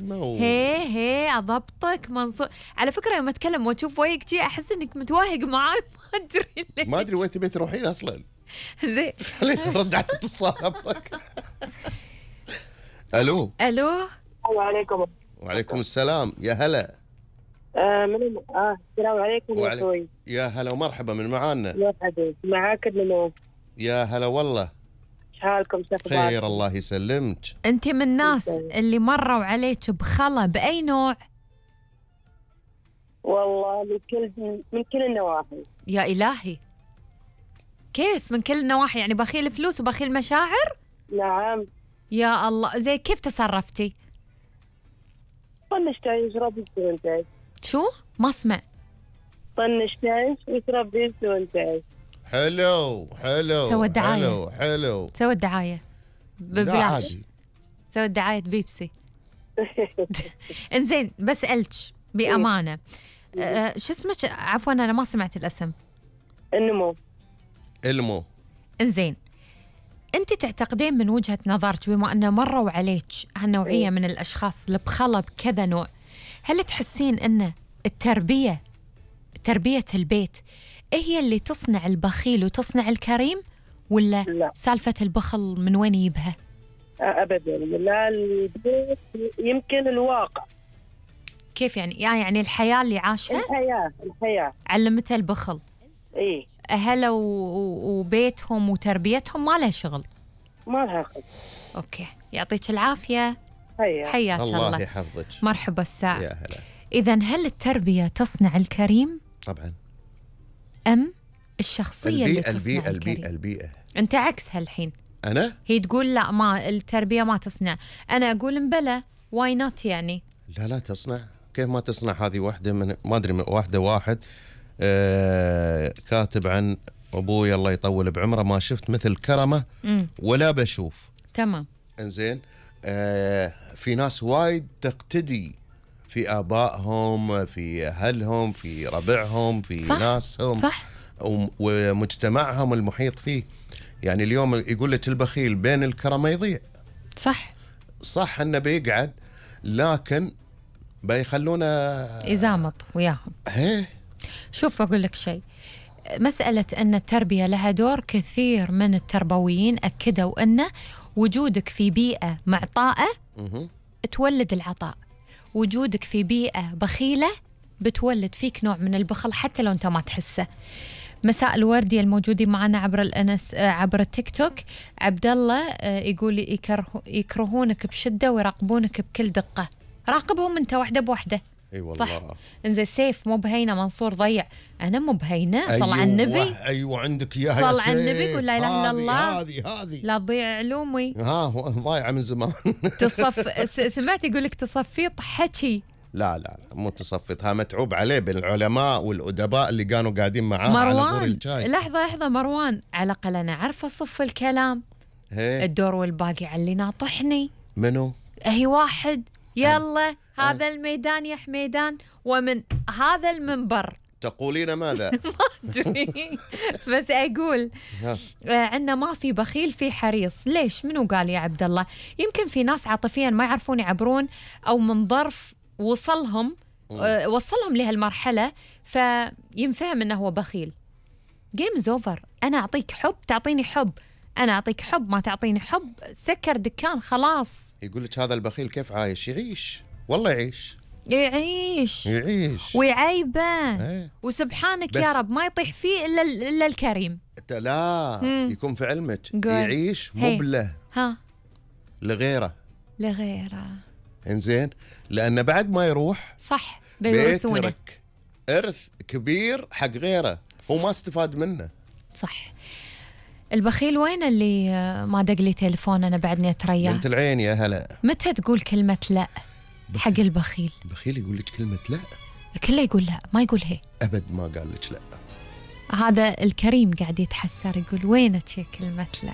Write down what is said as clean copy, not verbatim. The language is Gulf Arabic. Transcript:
هي اضبطك منصور. على فكره يوم اتكلم واشوف وجهك شي احس انك متوهق معاي ما ادري ليه. ما ادري وين تبي تروحين اصلا. زين خلينا نرد على الاتصال. الو. الو. السلام عليكم. وعليكم السلام، يا هلا. السلام عليكم يا اخوي. يا هلا ومرحبا، من معانا؟ مرحبا، معاك النمو. يا هلا والله. ايش حالكم؟ خير الله يسلمك. انت من الناس اللي مروا عليك بخلا باي نوع؟ والله من كل النواحي. يا الهي، كيف من كل النواحي؟ يعني بخيل فلوس وبخيل مشاعر؟ نعم. يا الله، زي كيف تصرفتي؟ طنش تعيش ربي وانت. شو؟ ما اسمع. طنش تعيش وتربي وانت. حلو حلو. سوى الدعاية. حلو حلو. سوى الدعاية ببلاش. سوى الدعاية بيبسي. انزين بسألك بأمانة، شو اسمك؟ عفوا أنا ما سمعت الاسم. النمو. انزين، أنت تعتقدين من وجهة نظرك بما أنه مروا عليك هالنوعية من الأشخاص اللي بخلا بكذا نوع، هل تحسين أن تربية البيت هي اللي تصنع البخيل وتصنع الكريم، ولا لا. سالفة البخل من وين يجيبها؟ أبدا لا، البيت يمكن الواقع. كيف يعني؟ يعني الحياة اللي عاشها؟ الحياة علمتها البخل. إيه. أهله وبيتهم وتربيتهم ما لها شغل. ما لها خلق. أوكي، يعطيك العافية. حياك الله يحفظك. مرحبا الساعة. يا هلا. إذن هل التربية تصنع الكريم؟ طبعا. أم الشخصية اللي تصنع الكريم؟ البيئة. أنت عكسها الحين. أنا؟ هي تقول لا، ما التربية ما تصنع، أنا أقول مبلى، واي نوت يعني. لا تصنع. كيف ما تصنع؟ هذه واحدة من ما أدري من واحد كاتب عن أبوي الله يطول بعمره، ما شفت مثل كرمه ولا بشوف. تمام. إنزين، في ناس وايد تقتدي في آبائهم، في أهلهم، في ربعهم، في صح. ناسهم. صح. ومجتمعهم المحيط فيه. يعني اليوم يقول لك البخيل بين الكرمة يضيع. صح انه بيقعد، لكن بيخلونه يزامط وياهم. شوف بقول لك شيء، مسألة أن التربية لها دور، كثير من التربويين أكدوا أن وجودك في بيئة معطاءة تولد العطاء، وجودك في بيئة بخيلة بتولد فيك نوع من البخل حتى لو أنت ما تحسه. مساء الوردي الموجودين معنا عبر التيك توك. عبد الله يقول يكرهونك بشدة ويراقبونك بكل دقة. راقبهم أنت واحدة بواحدة. اي والله. صح. انزين سيف مو بهينة، منصور ضيع، انا مو بهينة. صل على النبي. ايوه عندك اياها. صل على النبي، قول لا اله الا الله. هذه لا تضيع علومي. ضايعه من زمان. سمعت يقول لك تصفيط حكي. لا مو تصفيطها، متعوب عليه بين العلماء والأدباء اللي كانوا قاعدين معاه مروان. على بور الشاي. لحظة مروان، على الأقل أنا عارفة أصف الكلام. الدور والباقي على اللي ناطحني. منو؟ هي واحد. يلا هذا الميدان يا حميدان، ومن هذا المنبر تقولين ماذا؟ ما أدري بس أقول عندنا ما في بخيل، في حريص. ليش؟ منو قال يا عبد الله؟ يمكن في ناس عاطفيا ما يعرفون يعبرون، أو من ظرف وصلهم لهالمرحلة فينفهم أنه هو بخيل. جيمز أوفر. أنا أعطيك حب تعطيني حب، أنا أعطيك حب ما تعطيني حب، سكر دكان خلاص. يقول لك هذا البخيل كيف عايش؟ يعيش والله، يعيش ويعيبه. وسبحانك يا رب ما يطيح فيه إلا الكريم. لا يكون في علمك يعيش مبله لغيره. إنزين، لأن بعد ما يروح صح بيترك إرث كبير حق غيره، هو ما استفاد منه. صح. البخيل وين اللي ما دق لي تليفون أنا بعدني أترياه؟ بنت العين يا هلا. متى تقول كلمة لا حق البخيل؟ البخيل يقول لك كلمة لا، كله يقول لا، ما يقول هي. أبد ما قال لك لا. هذا الكريم قاعد يتحسر يقول وينك يا كلمة لا.